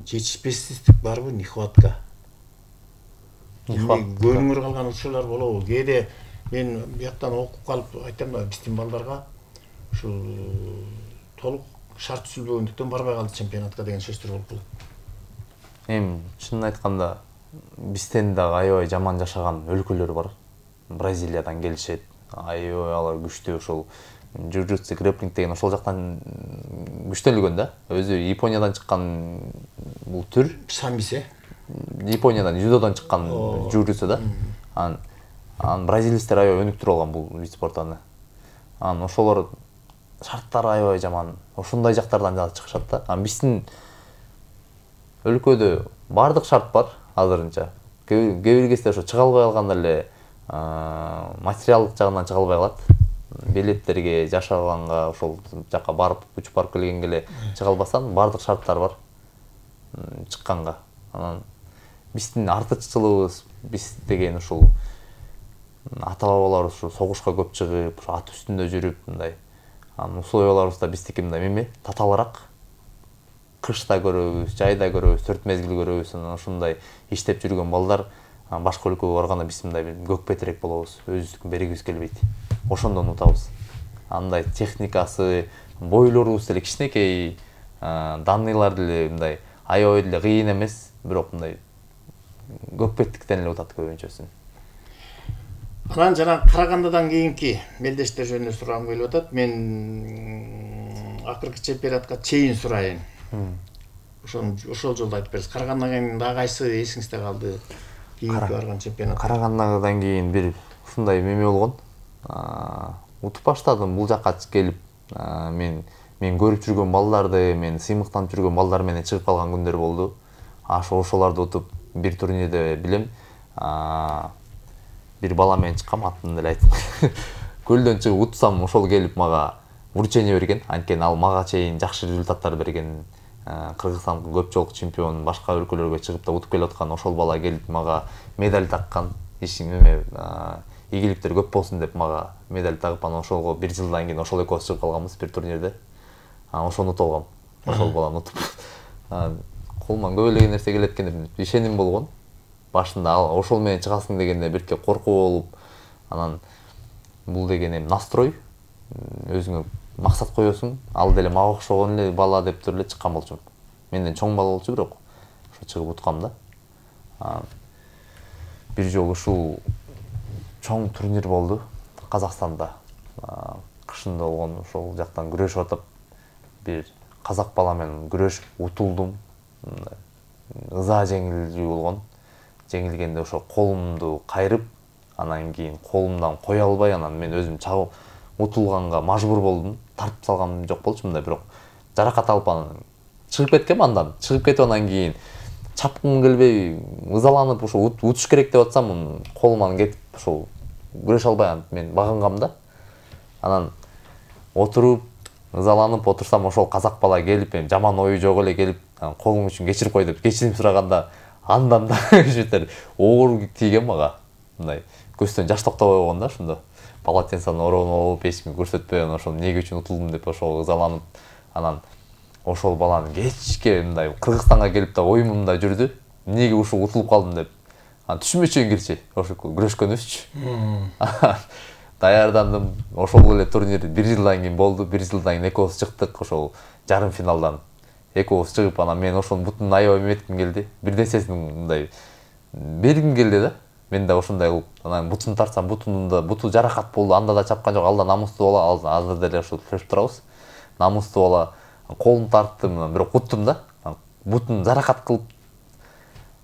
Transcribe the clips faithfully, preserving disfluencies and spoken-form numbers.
жетишпестик барбы, нехватка? Көрүнүр калган учурлар болобу? Кээде мен бияктан окуп калып айтам да, биздин балдарга ушул толук шарт түзүлбөгөндүктөн барбай калды чемпионатка деген сөздөр болуп калат. Эми чынын айтканда бизден дагы аябай жаман жашаган өлкөлөр бар. Бразилиядан келишет. Аябай алар күчтүү, ошол джиу-джитсу, грэпплинг деген ошол жактан күчтөлгөн да. Өзү Япониядан чыккан бул түр. Самбисе. Япониядан, жудодан чыккан джиу-джитсу да. Анан анан бразилецтер аябай өнүктүрүп алган бул вид спортуну. Анан ошолор шарттары аябай жаман. Ошондой жактардан да чыгышат да. Анан биздин өлкөдө бардык шарт бар азырынча. Кээ бир кезде ошо чыга албай калганда эле материалдык жагынан чыга албай калат. Билеттерге, жашаганга, ошол жака барып, учуп барып келгенге эле чыга албастан бардык шарттар бар чыкканга. Анан биздин артыкчылыгыбыз, биз деген ушул ата бабаларыбыз ушу согушка көп чыгып, ат үстүндө жүрүп мындай. Анан условияларыбыз да биздики мындай эме, татаалыраак. Кышта көрөбүз, жайда көрөбүз, төрт мезгил көрөбүз. Анан ошондой иштеп жүргөн балдар башка өлкөгө барганда биз мындай көк бетирээк болобуз, өзүбүздүн бергибиз келбейт. Ошондон утабыз. Андай техникасы, бойлорубуз деле кичинекей, данныйлар деле мындай аябай деле кыйын эмес, бирок мындай көк беттиктен эле утат көбүнчөсүн. Анан жана Карагандадан кийинки мелдештер жөнүндө сурагым келип атат. Мен акыркы чемпионатка чейин сурайын. Ошол ошол жолду айтып бересиз. Карагандадан кийин дагы кайсы эсиңизде калды? Кийинки барган чемпионат. Карагандадан кийин бир ушундай эме болгон. Утуп баштадым бул жакка келип, мен мен көрүп жүргөн балдарды, мен сыймыктанып жүргөн балдар менен чыгып калган күндөр болду. Ошо ошолорду утуп бир турнирде билем. Бир бала менен чыккам, атын деле айтып. Көлдөн чыгып утсам, ошол келип мага вручение берген. Анткени ал мага чейин жакшы результаттар берген. Кыргызстандын көп жолку чемпиону, башка өлкөлөргө чыгып да утуп келип аткан ошол бала келип мага медаль таккан. Ишиң эме ийгиликтер көп болсун деп мага медаль тагып, анан ошолго бир жылдан кийин ошол экөөбүз чыгып калганбыз бир турнирде. Анан ошону утуп алгам. Ошол баланы утуп. Колуман көп эле нерсе келет экен деп ишеним болгон. Башында ошол менен чыгасың дегенде бирке коркуу болуп, анан бул деген эми настрой, өзүңө максат коесуң, ал деле мага окшогон эле бала деп туруп эле чыккан болчумун. Менден чоң бала болчу, бирок ошо чыгып уткам да. Бир жолу ушул чоң турнир болду Казакстанда. Кышында болгон, ошол жактан күрөшүп атып, бир казак бала менен күрөшүп утулдум. Ыза жеңилүү болгон. Жеңилгенде ошо колумду кайрып, анан кийин колумдан кое албай, анан мен өзүм чабып утулганга мажбур болдум. Тартып салгам жок болчу мындай, бирок жаракат алып анан чыгып кеткем андан. Чыгып кетип анан кийин чапкым келбей, ызаланып ошо утуш керек деп атсам, колуман кетип ошол күрөшө албай мен багынгам да. Анан отуруп, ызаланып отурсам, ошол казак бала келип, эми жаман ою жок эле келип, колуң үчүн кечирип кой деп кечирим сураганда, андан да бир оор тийген мага. Мындай көздөн жаш токтобой болгон да ошондо. Полотенцаны ороонуп алып, эч кимге көрсөтпөй, анан ошол эмне үчүн утулдум деп ошол ызаланып, анан ошол баланы кечке мындай Кыргызстанга келип да оюмумда жүрдү. Эмнеге ушул утулуп калдым деп. Анан түшүнбөчү кирчи, ошо күрөшкөнүбүзчү. Даярдандым. Ошол эле турнир бир жылдан кийин болду. бир жылдан кийин экөөбүз чыктык ошол жарым финалдан. Экөөбүз чыгып, анан мен ошонун бутун аябай эметким келди. Бир нерсесин мындай бергим келди да. Мен да ошондой кылып, анан бутун тартсам, бутунда буту жаракат болду. Анда да чапкан жок, алда намустуу бала, азыр деле ошо сүйлөшүп турабыз. Намустуу бала, колун тарттым, бирок уттум да. Бутун жаракат кылып,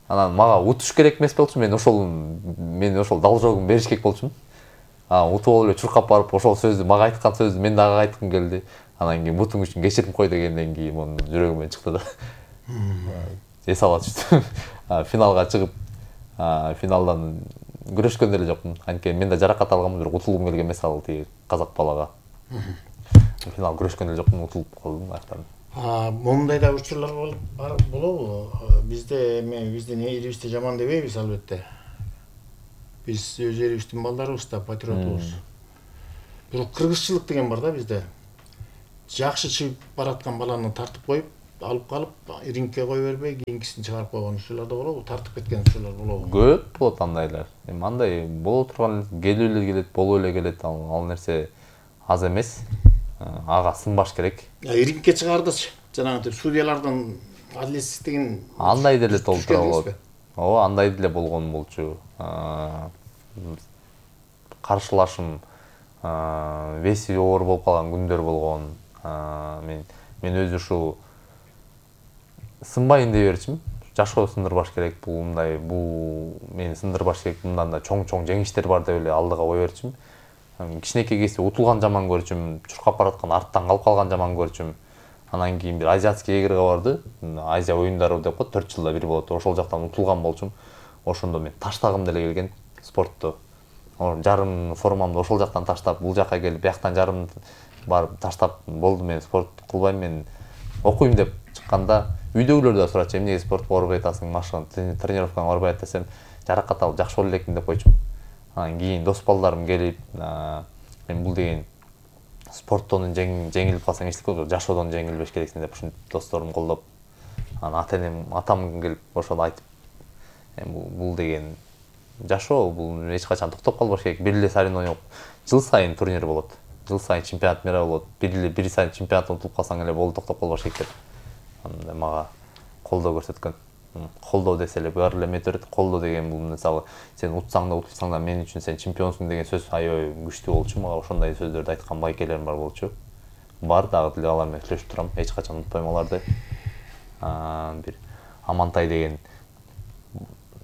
анан мага утуш керек эмес болчу, мен ошол мен ошол должогун бериш керек болчумун. Анан утуп алып эле чуркап барып, ошол сөздү мага айткан сөздү мен дагы айткым келди. Анан кийин бутуң үчүн кечирим кой дегенден кийин монун жүрөгүмөн чыкты да. Эс ала түштүм. Финалга чыгып, финалдан күрөшкөн деле жокмун. Анткени мен да жаракат алгам, бирок утулгум келген эмес ал тиги казак балага. Финал күрөшкөн деле жокмун, утулуп калдым аяктан. Мондай да учурлар болобу? Бизде эме биздин элибизди жаман дебейбиз албетте. Биз өз элибиздин балдарыбыз да, патриотубуз. Бирок кыргызчылык деген бар да бизде. Жакшы чыгып бараткан баланы тартып коюп, алып калып рингке кое бербей кийинкисин чыгарып койгон учурлар да болобу, тартып кеткен учурлар болобу? Көп болот андайлар. Эми андай боло турган келип эле келет, болуп эле келет. Ал, ал нерсе аз эмес. Ага сынбаш керек. Рингке чыгардычы жанагынтип судьялардын адилетсиздигин Андай деле толтура болот. Ооба, андай деле болгон болчу. Каршылашым веси оор болуп калган күндөр болгон. Мен мен өзү ушул сынбайын дей берчимин. Жашоо сындырбаш керек, бул мындай, бул мени сындырбаш керек, мындан да чоң-чоң жеңиштер бар деп эле алдыга кое берчимин. Кичинекей кезде утулган жаман көрчүм, чуркап бараткан арттан калып калган жаман көрчүм. Анан кийин бир азиатский игрга барды. Азия оюндары деп коет, төрт жылда бир болот. Ошол жактан утулган болчумун. Ошондо мен таштагым деле келген спортту. Жарым формамды ошол жактан таштап, бул жакка келип, бияктан жарым барып таштап болду, мен спорт кылбайм, мен окуйм деп чыкканда үйдөгүлөр да сурачу, эмнеге спортко барбай атасың, машыгын, тренировкаңа барбай атат десем, жаракат алып жакшы боло элекмин деп койчумун. Анан кийин дос балдарым келип, мен бул деген спорттон жеңилип калсаң эчтеке болбойт, жашоодон жеңилбеш керексиң деп ушинтип досторум колдоп, анан ата-энем, атам келип ошону айтып, эми бул деген жашоо, бул эч качан токтоп калбаш керек. Бир эле соревнование жыл сайын турнир болот. Жыл сайын чемпионат мира болот. Бир эле бир сайын чемпионатты утуп калсаң эле болду, токтоп калбаш керек деп. Анда мага колдоо көрсөткөн. Колдоо десе эле баары эле эметип берет. Колдоо деген бул мисалы сен утсаң да утпасаң да мен үчүн сен чемпионсуң деген сөз аябай күчтүү болчу. Мага ошондой сөздөрдү айткан байкелерим бар болчу. Бар дагы деле алар менен сүйлөшүп турам. Эч качан унутпайм аларды. Бир Амантай деген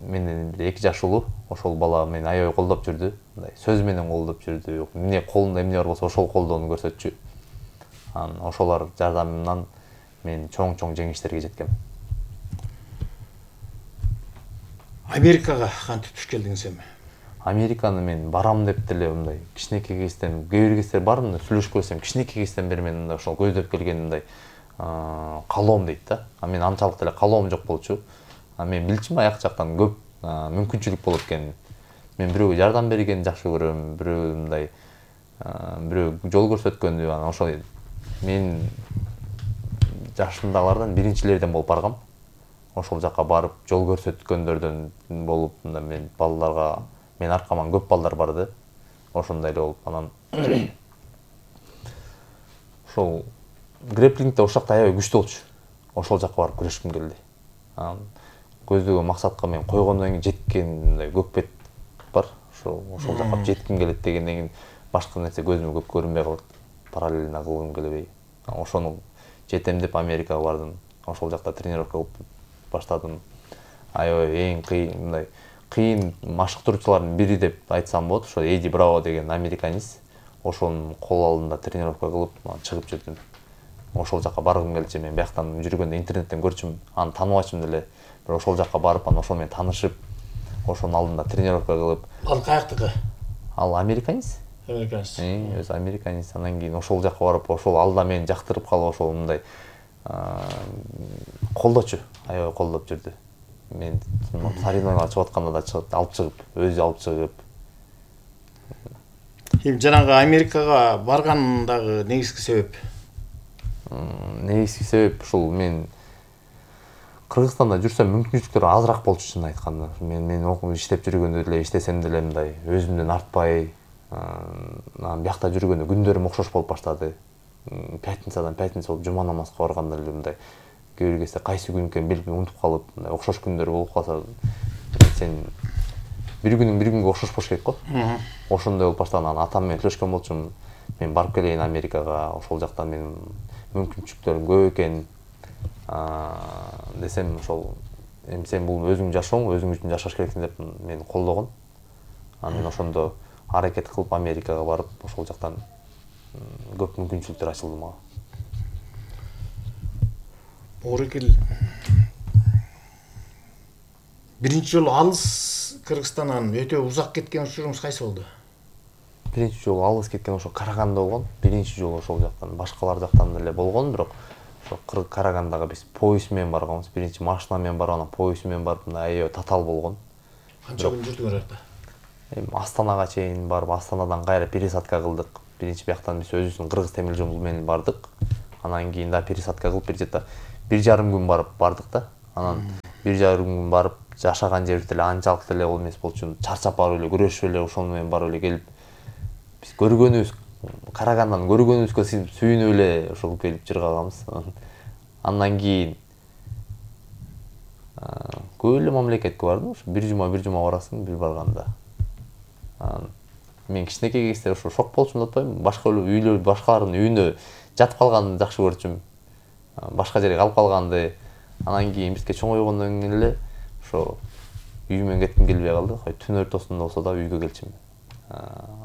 менден бир эки жаш улуу, ошол бала мени аябай колдоп жүрдү. Мындай сөз менен колдоп жүрдү. Эмне колунда эмне бар болсо ошол колдоону көрсөтчү. Анан ошолор жардамынан мен чоң-чоң жеңиштерге жеткем. Америкага кантип туш келдиңиз эми? Американы мен барам деп деле мындай кичинекей кезден, кээ бир кездер бар мындай сүйлөшүп көрсөм, кичинекей кезден бери мен мындай ошол көздөп келген мындай каалоом дейт да. А мен анчалык деле каалоом жок болчу. А мен билчүмүн аяк жактан көп мүмкүнчүлүк болот экенин. Мен бирөөгө жардам бергенди жакшы көрөм, бирөө мындай бирөө жол көрсөткөндү, анан ошол мен жашымдагылардан биринчилерден болуп баргам. Ошол жакка барып жол көрсөткөндөрдөн болуп, мында мен балдарга, мен аркаман көп балдар барды. Ошондой эле болуп, анан ошол грэплингде ошол жакта аябай күчтүү болчу. Ошол жакка барып күрөшкүм келди. Анан көздөгөн максатка мен койгондон кийин жеткен мындай көкпет бар. Ошол ошол жакка жетким келет дегенден кийин башка нерсе көзүмө көп көрүнбөй калат. Параллельно кылгым келбей. Ошону жетем деп Америкага бардым. Ошол жакта тренировка кылып баштадым. Аябай эң кыйын мындай кыйын машыктыруучулардын бири деп айтсам болот. Ошо Эди Браво деген американец. Ошонун кол алдында тренировка кылып, чыгып жүрдүм. Ошол жакка баргым келчү. Мен бияктан жүргөндө интернеттен көрчүм, аны тааныбачым деле. Бирок ошол жакка барып, анан ошол менен таанышып, ошонун алдында тренировка кылып. Ал каяктыкы? Ал американец. Американец. Э, өзү американец. Анан кийин ошол жакка барып, ошол алда мени жактырып калып, ошол мындай колдочу, аябай колдоп жүрдү. Мен соревнованияга чыгып атканда да чыгып, алып чыгып, өзү алып чыгып. Эми жанагы Америкага баргандагы негизги себеп? Негизги себеп ушул мен Кыргызстанда жүрсөм мүмкүнчүлүктөр азыраак болчу, чын айтканда. Мен мен окуп иштеп жүргөндө деле иштесем деле мындай өзүмдөн артпай, анан биякта жүргөндө күндөрүм окшош болуп баштады. Пятницадан пятница болуп жума намазга барганда эле мындай кээ бир кезде кайсы күн экенин билбей унутуп калып, мындай окшош күндөр болуп калса, сен бир күнүң бир күнгө окшош болуш керек го. Ошондой болуп баштаган. Анан атам менен сүйлөшкөн болчумун. Мен барып келейин Америкага, ошол жакта менин мүмкүнчүлүктөрүм көп экен. Десем ошол эми сен бул өзүңдүн жашооң, өзүң үчүн жашаш керексиң деп мени колдогон. Анан мен ошондо аракет кылып Америкага барып, ошол жактан көп мүмкүнчүлүктөр ачылды мага. Орекил биринчи жолу алыс Кыргызстандан өтө узак кеткен учуруңуз кайсы болду? Биринчи жолу алыс кеткен ошо Караганда болгон. Биринчи жолу ошол жактан, башкалар жактан деле болгон, бирок ошо Карагандага биз поезд менен барганбыз. Биринчи машина менен барып, анан поезд менен барып, мындай аябай татаал болгон. Канча күн жүрдүңөр анда? Эми Астанага чейин барып, Астанадан кайра пересадка кылдык. Биринчи бияктан биз өзүбүздүн кыргыз темир жол менен бардык. Анан кийин да пересадка кылып бир жерде бир жарым күн барып бардык да. Анан бир жарым күн барып жашаган жерибиз деле анчалык деле ол эмес болчу. Чарчап барып эле күрөшүп эле ошону менен барып эле келип биз көргөнүбүз, карагандан көргөнүбүзгө сүйүнүп эле ошол келип жыргаганбыз. Андан кийин көп эле мамлекетке бардым. Ошо бир жума бир жума барасың бир барганда. Мен кичинекей кезде ошо шок болчумун деп атпаймынбы. Башка үйлөр, башкалардын үйүнө жатып калганды жакшы көрчүм. Башка жерге калып калганды. Анан кийин бизге чоңойгондон кийин эле ошо үйүмөн кетким келбей калды. Кой түн ортосунда болсо да үйгө келчүмүн.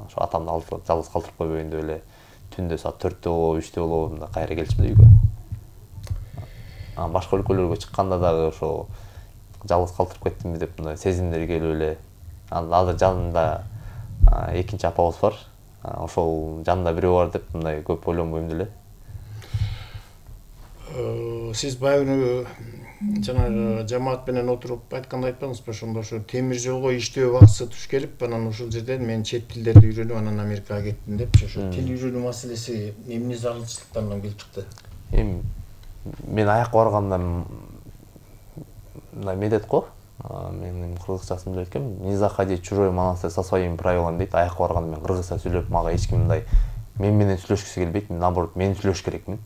Ошо атамды алып жалгыз калтырып койбоюн деп эле түндө саат төрттө болобу, үчтө болобу мындай кайра келчүмүн да үйгө. Анан башка өлкөлөргө чыкканда дагы ошо жалгыз калтырып кеттимби деп мындай сезимдер келип эле. Анан азыр жанымда экинчи апабыз бар. Ошол жанында бирөө бар деп мындай көп ойлонбойм деле. Сиз баягы жанагы жамаат менен отуруп айтканда айтпадыңызбы, ошондо ошо темир жолго иштөө убактысы туш келип, анан ошол жерден мен чет тилдерди үйрөнүп, анан Америкага кеттим депчи. Ошо тил үйрөнүү маселеси эмне зарылчылыктарынан келип чыкты? Эми мен аякка барганда мындай медет го. Менин кыргызчасын билет экенмин. Не заходи чужой монастырь со своими правилами дейт. Аякка барганда мен кыргызча сүйлөп, мага эч ким мындай мен менен сүйлөшкүсү келбейт. Мен наоборот мен сүйлөш керекмин.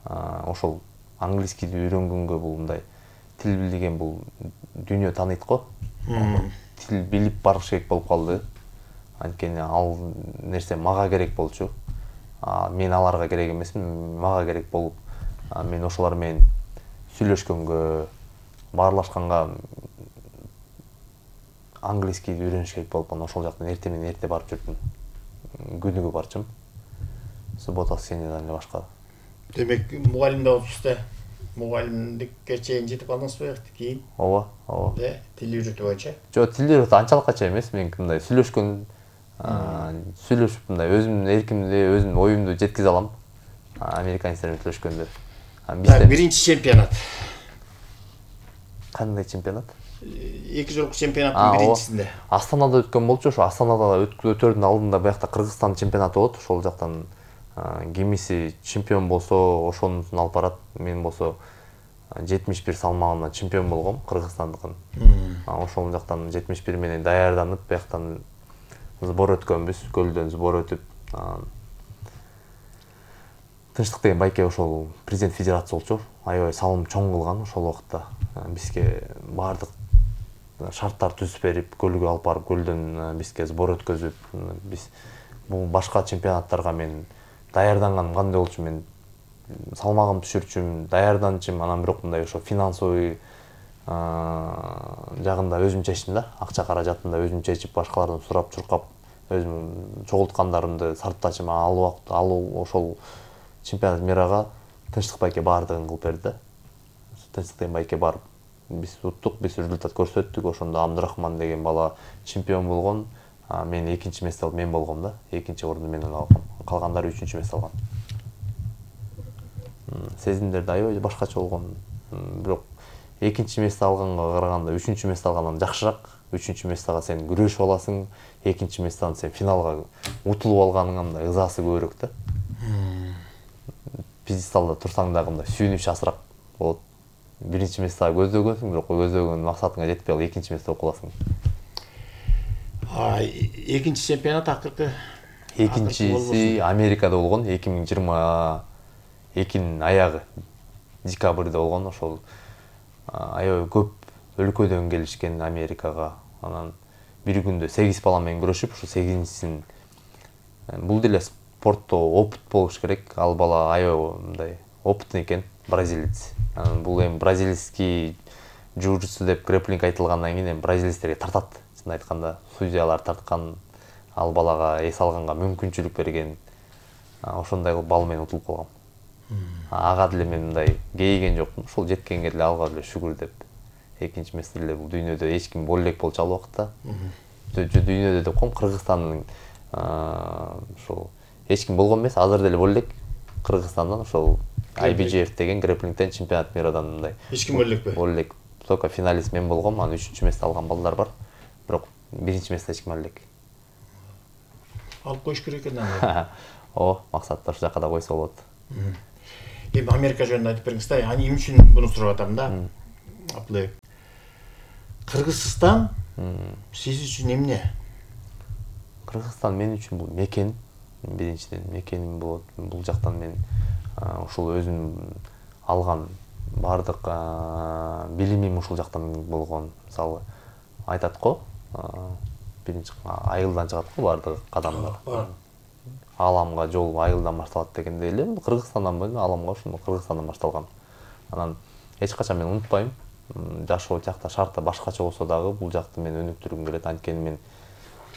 Ошол английскийди үйрөнгөнгө бул мындай тил билген бул дүйнө тааныйт го. Тил билип барыш керек болуп калды. Анткени ал нерсе мага керек болчу. Мен аларга керек эмесмин, мага керек болуп, мен ошолар менен сүйлөшкөнгө, баарлашканга английскийди үйрөнүш керек болуп, анан ошол жактан эрте менен эрте барып жүрдүм. Күнүгө барчумун. Суббота, воскресеньеден эле башка. Демек, мугалим да болупсуз да. Мугалимдикке чейин жетип калдыңызбы кийин? Ооба, ооба. Да, тил үйрөтүү боюнча. Жок, тил үйрөтүү анчалыкча эмес. Мен мындай сүйлөшкөн, сүйлөшүп мындай өзүмдүн эркимди, өзүмдүн оюмду жеткизе алам. Американецтер менен сүйлөшкөндө. Бизде биринчи чемпионат. Кандай чемпионат? Эки жолку чемпионаттын биринчисинде. Астанада өткөн болчу, ошо Астанада өтөрдүн алдында биякта Кыргызстан чемпионаты болот. Ошол жактан кимиси чемпион болсо, ошонусун алып барат. Мен болсо жетимиш бир салмагымда чемпион болгом, Кыргызстандыкын. Ошол жактан жетимиш бир менен даярданып, бияктан сбор өткөнбүз, көлдөн сбор өтүп, Тынчтык деген байке ошол президент федерация болчу. Аябай салым чоң кылган ошол убакта. Бизге баардык шарттар түзүп берип, көлгө алып барып, көлдөн бизге сбор өткөзүп, биз бул башка чемпионаттарга мен даярданганым кандай болчу, мен салмагым түшүрчүм, даярданчым, анан бирок мындай ошо финансовый жагында өзүм чечтим да, акча каражатында өзүм чечип, башкалардан сурап, чуркап, өзүм чогулткандарымды сарптачым. Ал убакта ал ошол чемпионат мирага Тынчтык байке баардыгын кылып берди да. Тынчтык деген байке барып, биз уттук, биз результат көрсөттүк. Ошондо Абдурахман деген бала чемпион болгон, мен экинчи месте алып мен болгом да. Экинчи орунду мен алгам. Калгандары үчүнчү месте алган. Сезимдер аябай башкача болгон. Бирок экинчи месте алганга караганда үчүнчү месте алгандан жакшыраак. Үчүнчү местега сен күрөшүп аласың, экинчи местедан сен финалга утулуп алганыңа мындай ызасы көбүрөөк да. Пьедесталда турсаң дагы мындай сүйүнүч азыраак болот. Биринчи местега көздөгөнсүң, бирок көздөгөн максатыңа жетпей калып экинчи месте болуп каласың. А экинчи чемпионат акыркы экинчиси Америкада болгон, эки миң жыйырма экинин аягы, декабрда болгон. Ошол аябай көп өлкөдөн келишкен Америкага. Анан бир күндө сегиз бала менен күрөшүп, ошо сегизинчисин бул деле спортто опыт болуш керек. Ал бала аябай мындай опытный экен, бразилец. Анан бул эми бразильский джиу-джитсу деп грэпплинг айтылгандан кийин эми бразилецтерге тартат. Чын айтканда, судьялар тарткан, ал балага эс алганга мүмкүнчүлүк берген. Ошондой кылып бал менен утулуп калгам. Ага деле мен мындай кейиген жокмун. Ошол жеткенге деле алга деле шүгүр деп. Экинчи месте деле бул дүйнөдө эч ким боло элек болчу ал убакта. Дүйнөдө деп коем, Кыргызстандын ошол эч ким болгон эмес, азыр деле боло элек. Кыргызстандан ошол ай би джи эф деген грэпплингден чемпионат мирадан мындай. Эч ким боло элекпи? Боло элек. Только финалист мен болгом, анан үчүнчү месте алган балдар бар. Бирок биринчи месте эч ким ало элек. Алып коюш керек экен анда. О, максатты ошол жака да койсо болот. эми Америка жөнүндө айтып бериңиз да. Аны эмне үчүн буну сурап атам да. Абдулай. Кыргызстан сиз үчүн эмне? Кыргызстан мен үчүн бул мекен, биринчиден мекеним болот. Бул жактан мен ушул өзүм алган бардык билимим ушул жактан болгон. Мисалы айтат го, биринчи айылдан чыгат го бардык кадамдар. Аламга жол айылдан башталат дегендей эле. Кыргызстандан бөлүн аламга ушул Кыргызстандан башталган. Анан эч качан мен унутпайм. Жашоо жакта шарты башкача болсо дагы бул жакты мен өнүктүргүм келет. Анткени мен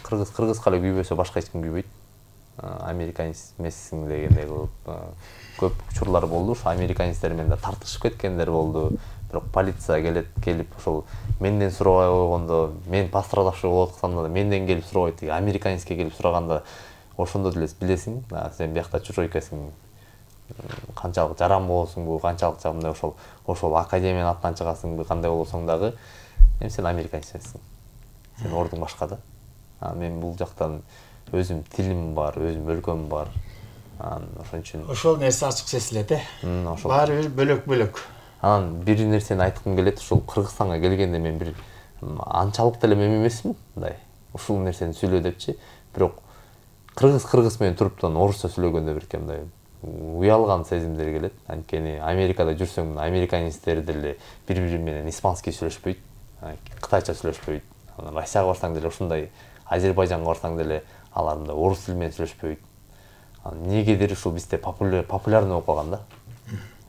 кыргыз кыргызга эле күйбөсө башка эч ким күйбөйт. Американец эмессиң дегендей кылып көп учурлар болду. Ошо американецтер менен да тартышып кеткендер болду. Бирок полиция келет, келип ошол менден сурабай койгондо, мен пострадавший болуп атканда да менден келип сурабайт. Американецке келип сураганда ошондо деле билесиң, сен биякта чужой экенсиң. Канчалык жаран болосуңбу, канчалык жамандай ошол ошол академиянын атынан чыгасыңбы, кандай болсоң дагы, эми сен американец эмессиң. Сен ордуң башка да. А мен бул жактан өзүм тилим бар, өзүм өлкөм бар. Ошон үчүн ошол нерсе ачык сезилет, э? Баары бир бөлөк-бөлөк. Анан бир нерсени айткым келет, ушул Кыргызстанга келгенде мен бир анчалык деле мем эмесмин, мындай. Ушул нерсени сүйлө депчи, бирок кыргыз кыргыз менен туруптан орусча сүйлөгөндө бирке мындай уялган сезимдер келет. Анткени Америкада жүрсөң, американецтер деле бири-бири менен испанский сүйлөшпөйт, кытайча сүйлөшпөйт. Анан Россияга барсаң деле ушундай, Азербайжанга барсаң деле алар мындай орус тили менен сүйлөшпөйт. Эмнегедир ушул бизде популярный болуп калган да.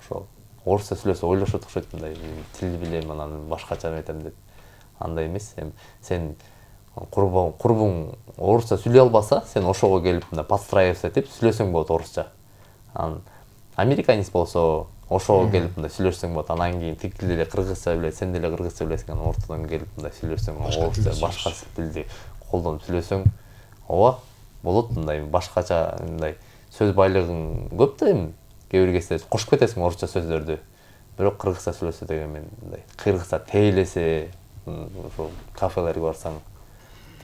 Ошол орусча сүйлөсө ойлошот окшойт, мындай тил билем, анан башкача этем деп. Андай эмес. Эми сен курбуң курбуң орусча сүйлөй албаса, сен ошого келип мына подстраиваться этип сүйлөсөң болот орусча. Анан американец болсо ошого келип мындай сүйлөшсөң болот. Анан кийин тиги деле кыргызча билет, сен деле кыргызча билесиң. Анан ортодон келип мындай сүйлөсөң, орусча башка тилди колдонуп сүйлөсөң, ооба болот мындай башкача мындай сөз байлыгың көп да эми. Кээ бир кезде кошуп кетесиң орусча сөздөрдү. Бирок кыргызча сүйлөсө деген мен мындай кыргызча тейлесе, ошо кафелерге барсаң,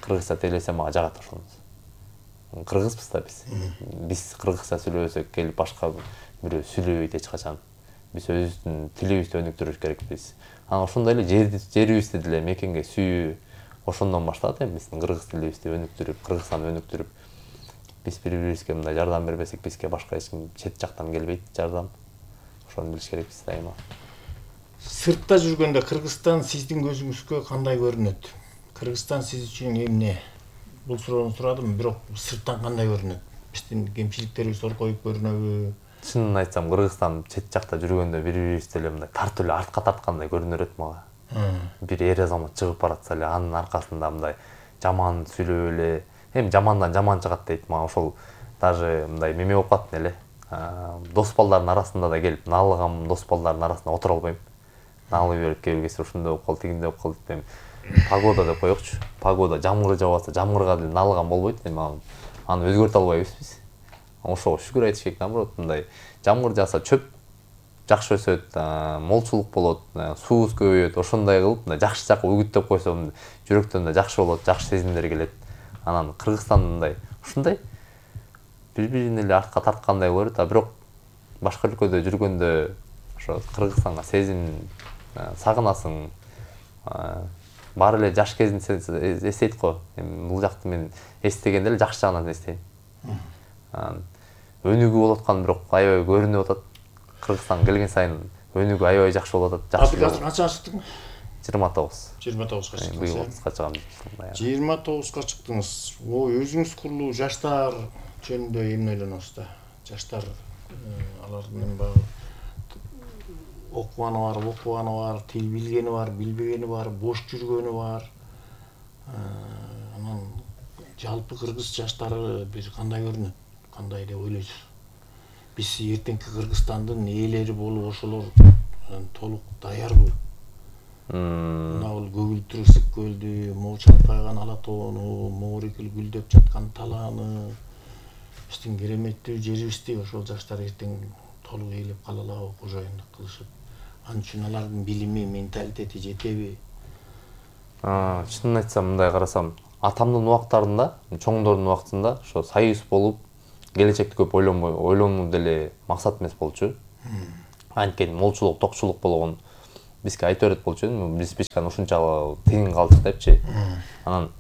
кыргызча тейлесе мага жагат ошонусу. Кыргызбыз да биз. Биз кыргызча сүйлөсөк келип башка бирөө сүйлөбөйт эч качан. Биз өзүбүздүн тилибизди өнүктүрүш керекпиз. Анан ошондой эле жерибизди деле мекенге сүйүү ошондон башталат эми биздин кыргыз тилибизди өнүктүрүп, Кыргызстанды өнүктүрүп, биз бири-бирибизге мындай жардам бербесек, бизге башка эч ким чет жактан келбейт жардам. Ошону билиш керекпиз дайыма. Сыртта жүргөндө Кыргызстан сиздин көзүңүзгө кандай көрүнөт? Кыргызстан сиз үчүн эмне? Бул суроону сурадым, бирок сырттан кандай көрүнөт? Биздин кемчиликтерибиз оркоюп көрүнөбү? Чынын айтсам, Кыргызстан чет жакта жүргөндө бири-бирибизди эле мындай тартып эле артка тарткандай көрүнөт мага. Бир эр азамат чыгып баратса эле анын аркасында мындай жаман сүйлөп эле, эми жамандан жаман чыгат дейт мага. Ошол даже мындай меме болуп калат эле. Дос балдардын арасында да келип наалыгам, дос балдардын арасында отура албайм. Наалып берип кээ бир кезде ушундай болуп калды, тигиндей болуп калды деп. Погода деп коёкчу. Погода жамгыр жаап атса, жамгырга деле наалыгам болбойт. Эми аны өзгөртө албайбыз биз. Ошого шүгүр айтыш керек. Наоборот, мындай жамгыр жааса чөп жакшы өсөт, молчулук болот, суубуз көбөйөт. Ошондой кылып, мындай жакшы жакка үгүттөп койсом, жүрөктөн да жакшы болот, жакшы сезимдер келет. Анан Кыргызстандай ушундай бири-бирин эле артка тарткандай көрөт, а бирок башка өлкөдө жүргөндө ошо Кыргызстанга сезим сагынасың. Баары эле жаш кезин эстейт го. Эми бул жакты мен эстегенде эле жакшы жагынан эстейм. Өнүгүү болуп аткан, бирок аябай көрүнүп атат. Кыргызстанга келген сайын өнүгүү аябай жакшы болуп атат. Жакшы. Азыр канчага чыктың? жыйырма тогуз. жыйырма тогузга чыктыңыз. Быйыл отузга чыгам. жыйырма тогузга чыктыңыз. Ой, өзүңүз курулуу жаштар жөнүндө эмне ойлоносуз да? Жаштар алардын баягы окуганы бар, окубаганы бар, тил билгени бар, билбегени бар, бош жүргөнү бар. Анан жалпы кыргыз жаштары бир кандай көрүнөт? Кандай деп ойлойсуз? Биз эртеңки Кыргызстандын ээлери болуп ошолор толук даярбы? Мына бул көгүлтүр ысык көлдү, могу чалкайган ала тоону, моорекил гүлдөп жаткан талааны, биздин кереметтүү жерибизди ошол жаштар эртең толук ээлеп кала алабы, кожоюндук кылышып? Ал үчүн алардын билими, менталитети жетеби? Чынын айтсам, мындай карасам, атамдын убактарында, чоңдордун убактында ошо союз болуп, келечекти көп ойлонбой, ойлонуу деле максат эмес болчу. Анткени молчулук, токчулук болгон бизге айтып берет болчу. Биз пичканы ушунчалык тең калдык депчи. Анан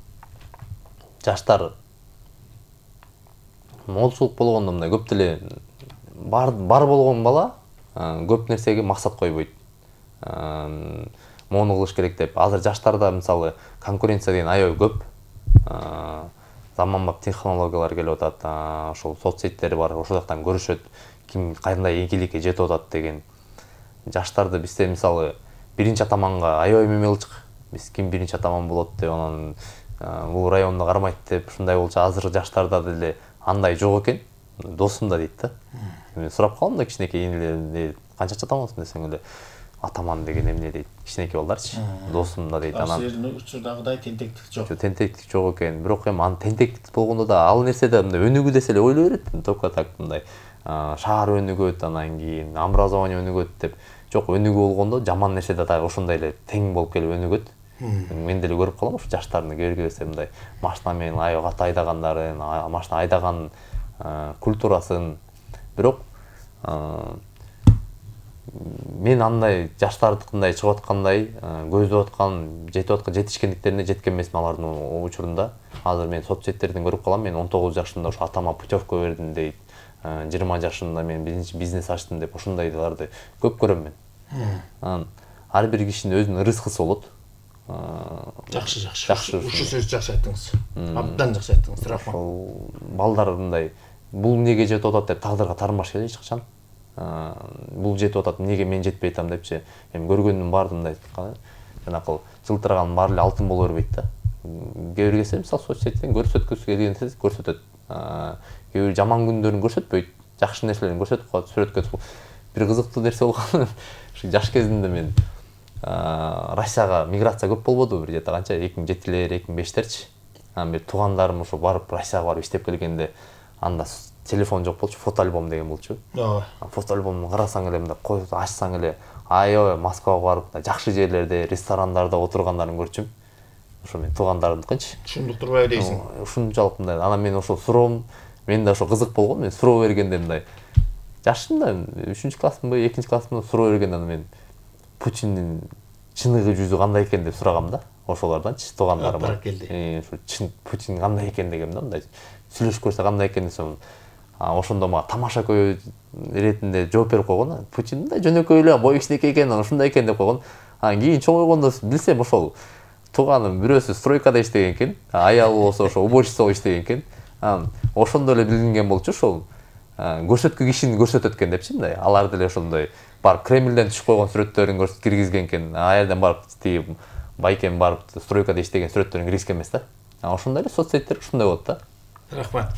жаштар молчулук болгондо мындай көп деле бар бар болгон бала көп нерсеге максат койбойт. Мону кылыш керек деп. Азыр жаштарда мисалы конкуренция деген аябай көп. Заманбап технологиялар келип атат. Ошол соцсеттер бар. Ошол жактан көрүшөт. Ким кандай ийгиликке жетип атат деген. Жаштарды бизде мисалы биринчи атаманга аябай мемелчик. Биз ким биринчи атаман болот деп, анан бул районду кармайт деп ушундай болчу. Азыр жаштарда деле андай жок экен. Досум да дейт да. Мен сурап калдым да кичинекей энелерден, канча атамансың десең эле атаман деген эмне дейт. Кичинекей балдарчы. Досум да дейт. Анан сиздин учурдагыдай тентектик жок. Жок, тентектик жок экен. Бирок эми анын тентектик болгондо да ал нерседе мындай өнүгүү десе эле ойлой берет. Только так мындай шаар өнүгөт, анан кийин образование өнүгөт деп. Жок, өнүгүү болгондо жаман нерсе да ошондой эле тең болуп келип өнүгөт. Мен деле көрүп калам ушу жаштардын кээ-биркесе мындай машина менен аябай каты айдагандарын, машина айдаган культурасын. Бирок мен андай жаштардыкындай чыгып аткандай, көздөп аткан, жетип аткан жетишкендиктерине жеткен эмесмин алардын учурунда. Азыр мен соцсеттерден көрүп калам. Мен он тогуз жашымда ушу атама путевка бердим дейт. жыйырма жашымда мен бизнес ачтым деп ошондойларды көп көрөм мен. Анан ар бир кишинин өзүнүн рызкысы болот. Жакшы, жакшы. Ушу сөз жакшы айттыңыз. Абдан жакшы айттыңыз. Рахмат. Ошол балдар мындай бул эмнеге жетип атат деп тагдырга тармаш керек эч качан. Бул жетип атат, эмнеге мен жетпей атам депчи. Эми көргөндүн баары мындай жанакы жылтыраган баары эле алтын боло бербейт да. Кээ бир кезде мисалы соцсеттен көрсөткүсү келгенде көрсөтөт. Кээ бир жаман күндөрүн көрсөтпөйт, жакшы нерселерин көрсөтүп коет, сүрөткө. Бир кызыктуу нерсе болгон. Ушу жаш кезимде мен Россияга миграция көп болбоду, бир жета канча эки миң жетилер, эки миң бештерчи. Анан бир туугандарым ошо барып Россияга барып иштеп келгенде анда телефон жок болчу, фото альбом деген болчу. Ооба. Фото альбомду карасаң эле мындай коюп ачсаң эле аябай Москвага барып жакшы жерлерде, ресторандарда отургандарын көрчүм. Ошо мен туугандарымдыкынчы. Түшүндүк турбайбы дейсиң? Ушунчалык мындай. Анан мен ошо суроом, мен да ошо кызык болгон. Мен суроо бергенде мындай жашымда үчүнчү классмынбы, экинчи классмынбы суроо бергенде анан мен Путиндин чыныгы жүзү кандай экен деп сурагам да. Ошолорданчы туугандарым бар. Э, ушу чын Путин кандай экен дегем да, мындай сүйлөшүп көрсө кандай экен десем, ошондо мага тамаша көй иретинде жооп берип койгон. Путин мындай жөнөкөй эле, бою кичинекей экен, ушундай экен деп койгон. Анан кийин чоңойгондо билсем ошол тууганым бирөөсү стройкада иштеген экен, аялы болсо ошо уборщица болуп иштеген экен. Анан ошондо эле билинген болчу ошол көрсөткү кишини көрсөтөт экен депчи мындай. Алар деле ошондой барып Кремлден түшүп койгон сүрөттөрүн көрсөтүп киргизген экен. А жерден барып тиги байкен барып стройкада иштеген сүрөттөрүн киргизген эмес да. Ошондой эле соцсеттер ушундай болот да. Рахмат.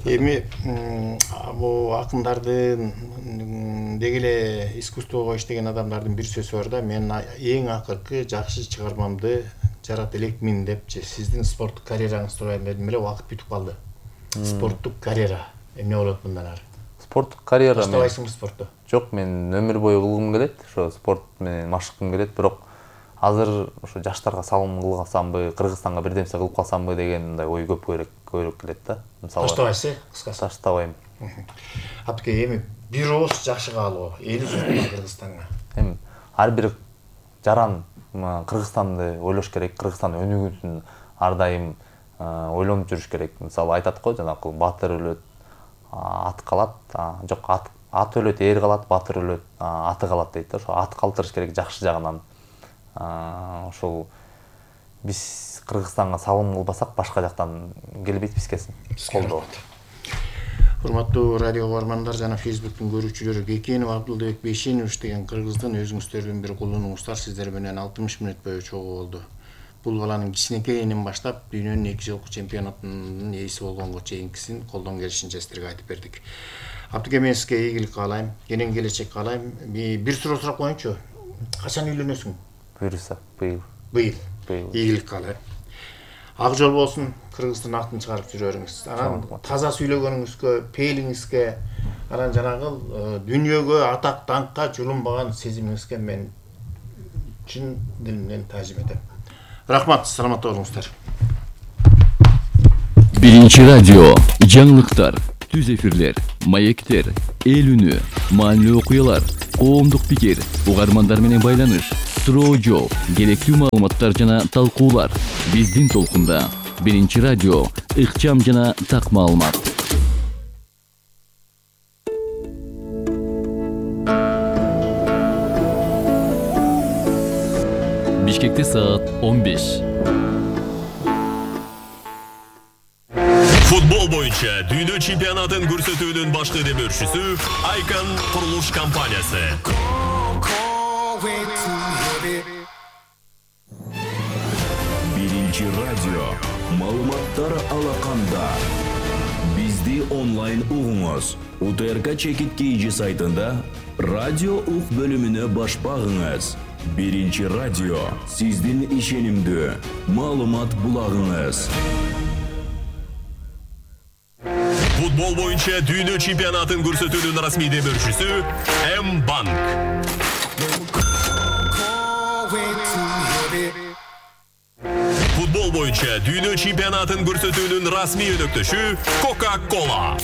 Эми Эми бул акындардын деги эле искусствого иштеген адамдардын бир сөзү бар да. Мен эң акыркы жакшы чыгармамды жарата элекмин депчи. Сиздин спорттук карьераңызды сурайын дедим эле, убакыт бүтүп калды. Спорттук карьера эмне болот мындан ары? Спорттук карьера баштабайсыңбы спортто? Жок, мен өмүр бою кылгым келет. Ошо спорт менен машыгым келет, бирок азыр ошо жаштарга салым кылсамбы, Кыргызстанга бир нерсе кылып калсамбы деген мындай ой көп көбүрөөк көбүрөөк келет да. Мисалы баштабайсыз, кыскасы. Баштабайм. Апке эми бир ооз жакшы каалоо, эли журтуна Кыргызстанга. Эми ар бир жаран Кыргызстанды ойлош керек, Кыргызстан өнүгүүсүн ар дайым ойлонуп жүрүш керек. Мисалы айтат го, жанакы баатыр өлөт, ат калат, жок, ат ат өлөт, эр калат, баатыр өлөт, аты калат дейт да. Ошо ат калтырыш керек жакшы жагынан. Ошол биз Кыргызстанга салым кылбасак башка жактан келбейт бизге колдоо. Урматтуу радио угармандар жана Facebook'тун көрүүчүлөрү, Кекенов Абдылбек Бейшенович деген Кыргыздын өзүңүздөрдүн бир кулунуңуздар сиздер менен алтымыш мүнөт бою чогуу болду. Бул баланын кичинекейинен баштап дүйнөнүн эки жолку чемпионатынын ээси болгонго чейинкисин колдон келишинче сиздерге айтып бердик. Абдыке, мен сизге ийгилик каалайм, кенен келечек каалайм. Бир суроо сурап коеюнчу. Качан үйлөнөсүң? Буюрса, быйыл. Быйыл. Ийгилик каалайм. Ак жол болсун, Кыргыздын атын чыгарып жүрө бериңиз. Анан таза сүйлөгөнүңүзгө, пейилиңизге, анан жанагы дүйнөгө атак даңкка жулунбаган сезимиңизге мен чын дилимден таазим этем. Рахмат, саламатта болуңуздар. Биринчи радио, жаңылыктар, түз эфирлер, маектер, эл үнү, маанилүү окуялар, коомдук пикир, угармандар менен байланыш, суроо жооп, керектүү маалыматтар жана талкуулар. Биздин толкунда биринчи радио, ыкчам жана так маалымат. Бишкекте саат он беш. Футбол боюнча дүйнө чемпионатын көрсөтүүнүн башкы демөөрчүсү Айкан курулуш компаниясы. Биринчи радио. Маалыматтар алаканда. Бизди онлайн угуңуз. У Т Р К Чекит Кейжи сайтында радио ук бөлүмүнө баш багыңыз. Биринчи радио. Сиздин ишенимдүү маалымат булагыңыз. Футбол боюнча дүйнө чемпионатын көрсөтүүнүн расмий демөөрчүсү М-банк. Футбол боюнча дүйнө чемпионатын көрсөтүүнүн расмий өнөктөшү Coca-Cola.